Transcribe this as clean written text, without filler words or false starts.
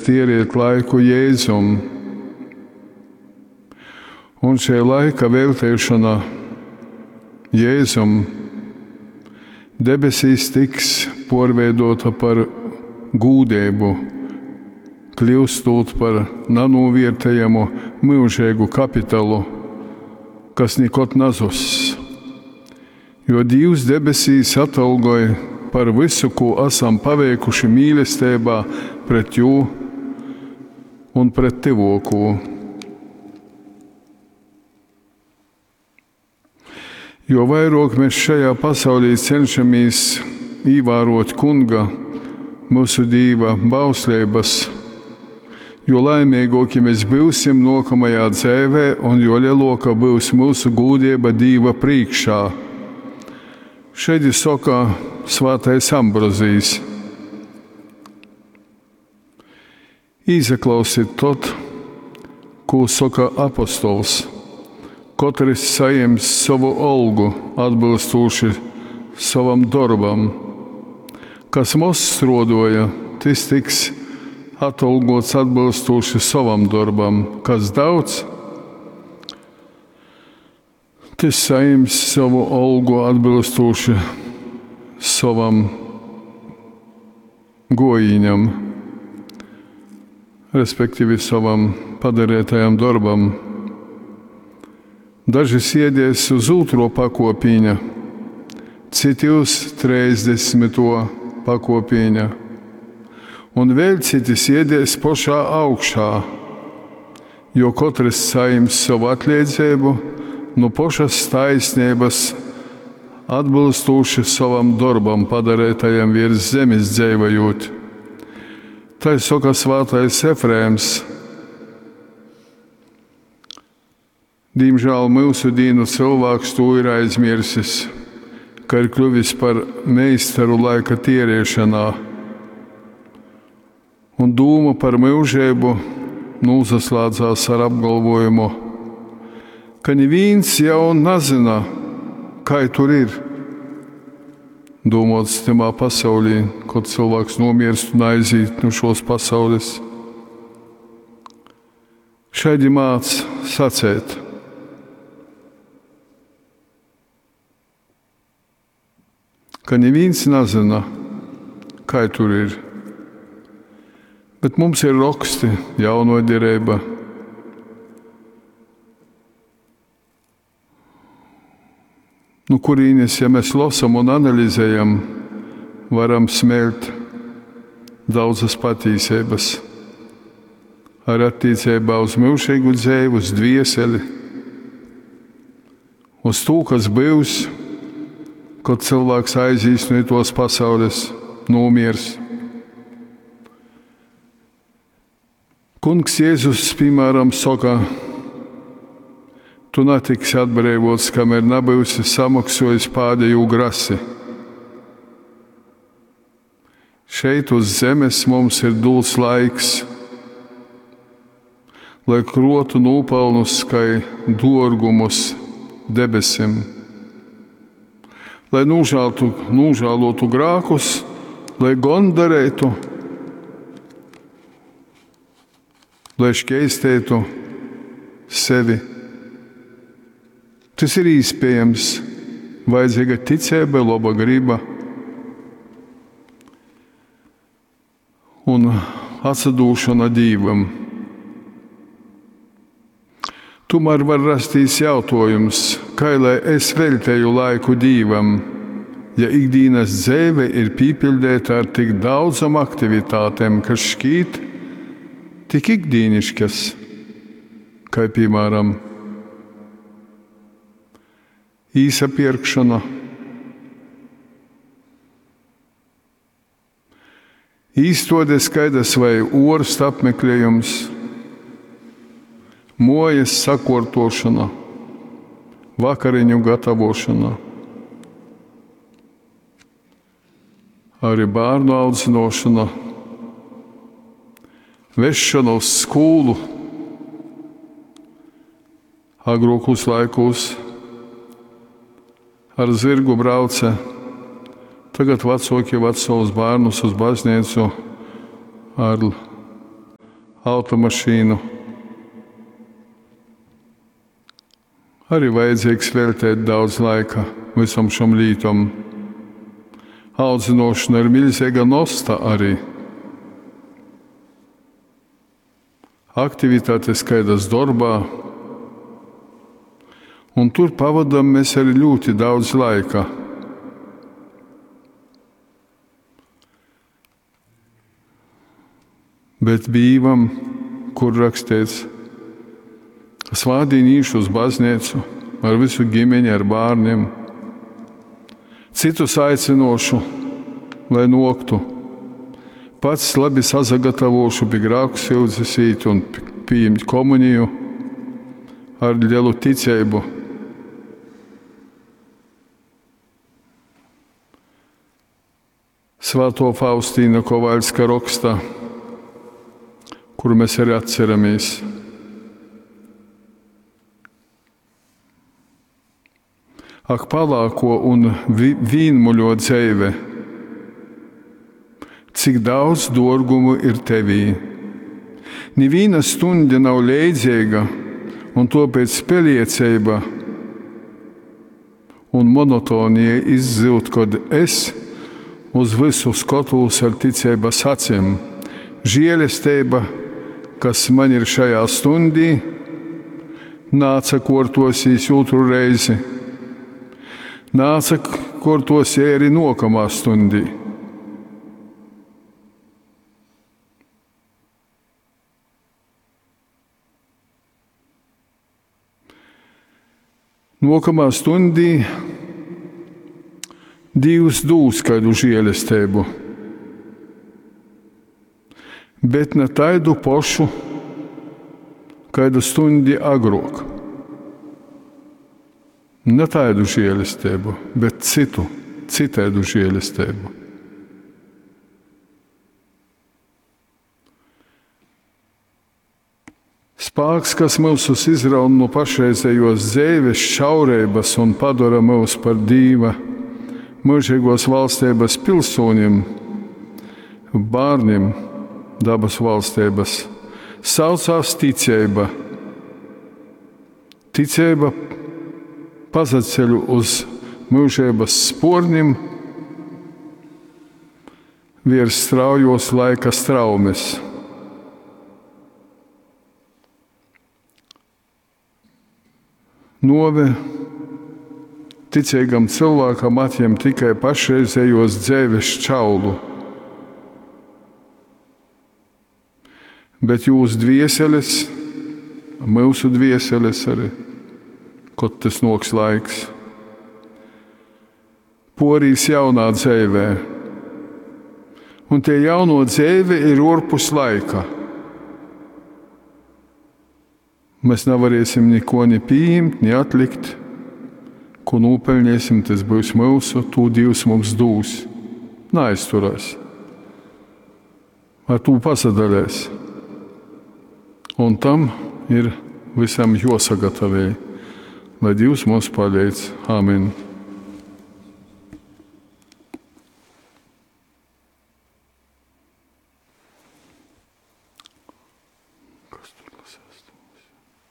tierēt laiku Jēzum. Un šei laika velteišona Jēzum debesīs tiks puorveiduota par gūdeibu, kliustūt par nanūviertejamu myužeigu kapitalu, kas nikod nazuss. Jo Dīvs debesīs atalgoj par vysu, kū asam paveikuši mīlesteibā pret jū un pret tyvuokū. Jo vairuok mes šajā pasaulī cenšamīs īvāruot Kunga, myusu Dīva bausleibys, jo laimeiguoki mes byusim nuokamajā dzeivē un jo leluoka byus myusu gūdeiba Dīva prīškā. Šaidi soka svātais Ambrozijs. Īsaklausit tod, kū soka apostols. Kotrys sajims sovu olgu atbylstūši sovam dorbam. Kas moz struoduoja, tys tiks atolguots atbylstūši sovam dorbam, kas daudz, tys sajims sovu olgu atbylstūši sovam guojīņam, respektivi sovam padareitajam dorbam. Daži siedies uz ūtruo pakuopīņa, cyti uz 30. pakuopīņa, un vēļ cyti siedies pošā augšā, jo kotrys sajims sovu atleidzeibu nu pošas taisneibys atbylstūši sovam dorbam padareitajam viers zemis dzeivojūt. Tai soka svātais Efrēms. Dīmžāl myusu dīnu cylvāks tū ir aizmiersis, ka ir kļuvis par meistaru laika tieriešonā. Un dūma par myužeibu nūsaslādzās ar apgalvojumu, ka nivīns jau nazyna, kai tur ir. Dūmots tymā pasaulī, kod cylvāks nomierst un aizīt nu šos pasaules. Šaidi mādz sacēt. Ka nivīns nazyna, kai tur ir. Bet mums ir roksti, jaunuo dereiba. Nu kurīnis, ja mes losam un analizējam, varam smelt daudzas patīseibys. Ar attīceibā uz myužīgu dzeivi, uz dvieseli, uz tū, kas byus, kod cylvāks aizīs nu ituos pasaules, nūmiers. Kungs Jēzus, piemēram, soka, tu natiksi atbreivots, kamēr nabyusi samaksojis pādejū grasi. Šeit uz zemes mums ir dūts laiks, lai krotu nopelnus kai duorgumus debesim, lai nožēltu, nožēlotu grākus, lai gondarētu, lai škeistētu sevi. Tas ir iespējams. Vajadzīga ticība, laba griba un atsadūšana Dīvam. Tomēr var rasties jautājums, kā lai es veltēju laiku Dīvam, ja ikdienas dzīve ir piepildīta ar tik daudzām aktivitātēm, kas šķiet tik ikdieniškas, kā piemēram īsapirkšana, īstuodes kaidas vai orsta apmeklējums, mojas sakortošana, vakariņu gatavošana, arī bērnu audzināšana, vešana uz skolu. Agrākos laikos ar zirgu brauca. Tagad vecāki ved savus bērnus uz baznīcu ar Automašīnu arī vajadzīgs veltēt daudz laika visom šom lītom. Audzinošana ir milzīga nosta arī. Aktivitātes kaidas darbā, un tur pavadam mēs arī ļoti daudz laika. Bet bīvam, kur rakstīts, svātdien īšu uz baznīcu ar visu ģimeni, ar bērniem. Citus aicinošu, lai noktu. Pats labi sasagatavošu pie grāku sildzes īt un pieņemt komuniju ar lielu ticību. Svēto Faustīna Kovaļska raksta, kuru mēs arī atceramies. Ak, palāko un vīnmuļo dzeive, cik daudz dorgumu ir tevī. Nivīna stunda nav leidzīga, un tāpēc peliecība un monotonija izzūd, kad es uz visu skatos ar ticības acīm. Žēlestība, kas man ir šajā stundī, nāca kortosīs otru reizi. Nāca kortosī arī nokamā stundī. Nokamā stundī Dievs dūs kādu žēlestību, bet ne taidu pošu, kādu stundi agrāk. Ne taidu žēlestību, bet citu, citaidu žēlestību. Spāks, kas mūsus izraun no pašreizējos dzīves šaurības un padara mūs par Dīva mūžīgos valstības pilsoņiem, bērniem dabas valstības, saucās ticība. Ticība pazaceļu uz mūžības spornim virs straujos laika straumes. Nove ticīgam cilvēkam atņem tikai pašreizējos dzīves čaulu, bet jūs dvieseles, mūsu dvieseles arī, kad tas noks laiks, porīs jaunā dzīvē. Un tie jauno dzīve ir orpus laika. Mēs nevarēsim neko ni pieņemt, ni atlikt. Ko nopelnīsim, tas būs mūsu, to Dievs mums dūs. Neaizturēs. Ar to pasadalēs. Un tam ir visam jāsagatavē, lai Dievs mums palīdz. Amen.